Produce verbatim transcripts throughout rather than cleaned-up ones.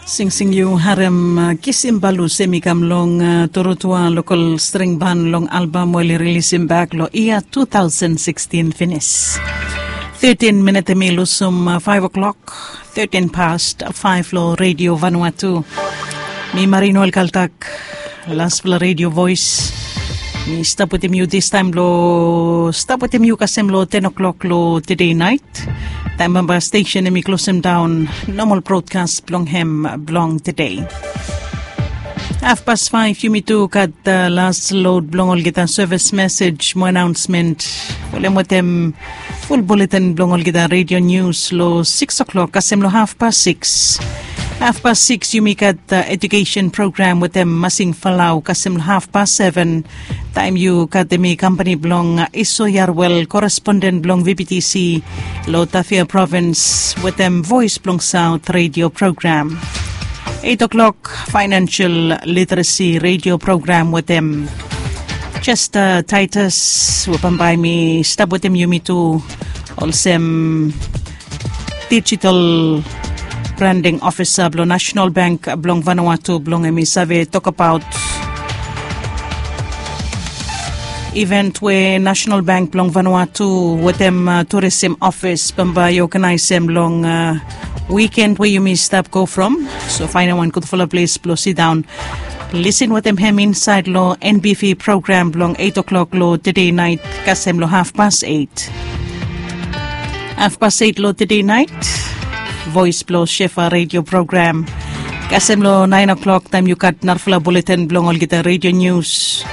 Singsing yu harem, kisim balus em i kam long torotua lokol string ban long albam we oli rilisim bak long yia tu tausen sikstin finis. Tetin minit em i lusum faiv o'klok. Tetin past faiv long redio vanua tu. Mi marino el kaltak, laspela redio vois. Mi stap wetem yu distaim long stap wetem yu kasem long ten o'klok long tede nait. Taim bamba stesen em i klosem daun nomal brotkas blong hem blong tede. Hafpas faiv yumi tu gat las lod blong olgeta sevis mesej mo anaonsmen, folem wetem ful buletin blong olgeta redio nius long siks o'klok kasem long hafpas siks. Hafpas siks yumi gat ejukesen program wetem masing falau kasem long hafpas seven. Taim yu gat em i kampani blong iso yarwel koresponden blong vptc long tafia provins wetem vois blong saut redio program. Eit o'klok, fainansial literesi redio program wetem chester titus we bambae mi stap wetem yumi tu olsem digital branding ofisa blong national bank blong vanua tu blong em i save tokabaot event we national bank blong vanua tu wetem turisim ofis bambae i oganaisem long wiken we yumi stap go from. So faindaot wan gudfala ples blong sidaon lisin wetem hem insaed long nbv program blong eit o'klok long tede nait kasem long hafpas eit. Hafpas eit long tede nait, vois blong shefa redio program kasem long naen o'klok taim yu gat narafala buletin blong olgeta redio nius.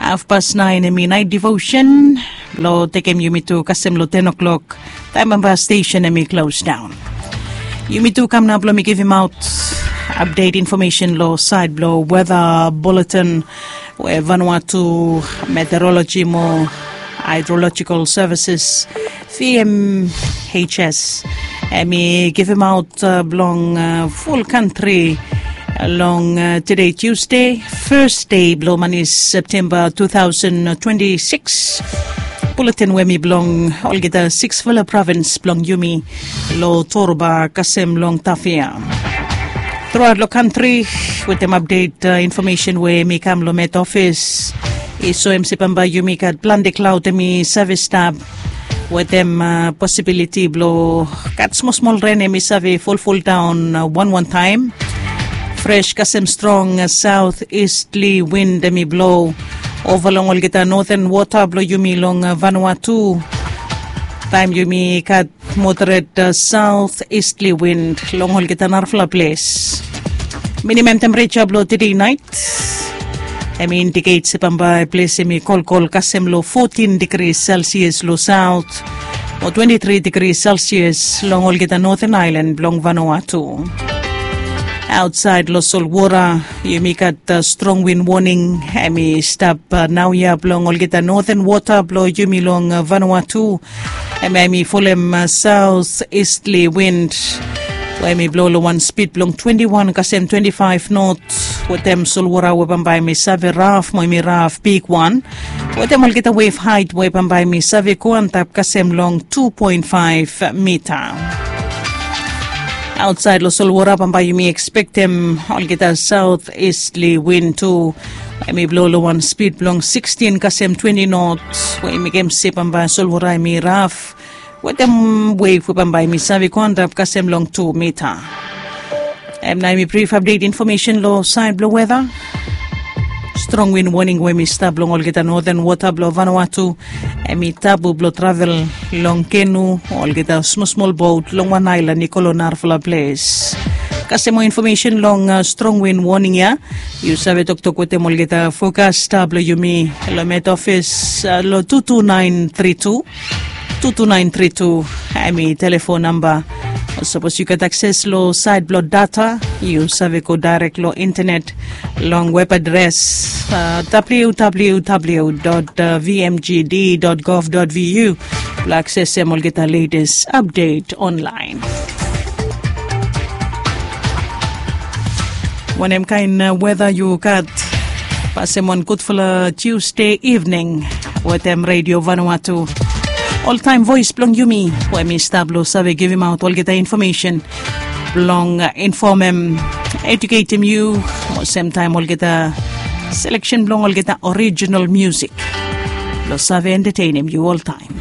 Hafpas naen em i nait devosen blong tekem yumi tu kasem long ten o'klok taim bamba stesen em i klos daon. Yumi tu kam nao blong mi givimaot apdet infomesen long saed blong weta buletin we vanua tu meteoroloji mo haedrolojikel sevises vmhs em i givimaot blong ful kantri long tede tiusde, fes dei blong mani septemba tu tausen twenti sikis. Buletin we mi blong olgeta siksfala provins blong yumi long toruba kasem long tafia. Truaot long kantri wetem apdet infomesen we mi kam long met ofis i soem se bambae yumi gat plante klaod em i save stap wetem posibiliti blong gat smosmol ren em i save folfoldaon wanwan taem. Fres kasem strong saot istli wind em i blo ova long olgeta noten wota blong yumi long vanua tu. Taem yumi gat moderet saot istli wind long olgeta narafala ples. Minimem tempereja blong tede nait em i indiket se bambae ples em i kolkol kasem long fotin digri selsias long saot o twenti tri digri selsias long olgeta noten aelan blong vanua tu. Aotsaed long solwora yumi gat strong win woning em i stap naoia blong olgeta noten wota blong yumi long vanua tu. Em em i folem saot istli wind we em i blo long wan spid blong twenti wan kasem twenti faef not wetem solwora we bambae em i save raf mo em i raf bigwan wetem olgeta wef haet we bambae em i save go antap kasem long tu poen faef mita. Aotsaed long solwora bambae yumi ekspektem olgeta saot istli win tu em i blo long wan spid blong sikstin kasem twenti not we i mekem se bambae solwora em i raf wetem wef we bambae em i save go antap kasem long tu mita. Em nao em i brif apdet infomesen long saed blong weta. Strong win woning we em i stap long olgeta noten wota blong vanua tu em i tabu blong travel long kenu o olgeta smosmol bot long wan aelan i go long narafala ples. Kasem moa infomesen long strong win woning ya yu save toktok wetem olgeta fokasta blong yumi long met ofis long tu tu naen tri tu. Tu tu naen tri tu em i telefon namba. Sapos yu gat akses long saed blong data yu save go daerek long intenet long web adres www vmgd gov vu blong aksesem olgeta letes apdet onlaen. Wanem kaen weta yu gat? Pasem wan gudfala tiusde ivning wetem redio vanua tu. Oltaem voes blong yumi we mi stap long save givimaot olgeta infomesen. blong infomem, eduketem yu, mo semtaem olgeta seleksen blong olgeta orijinal musik blong save entetenem yu oltaem.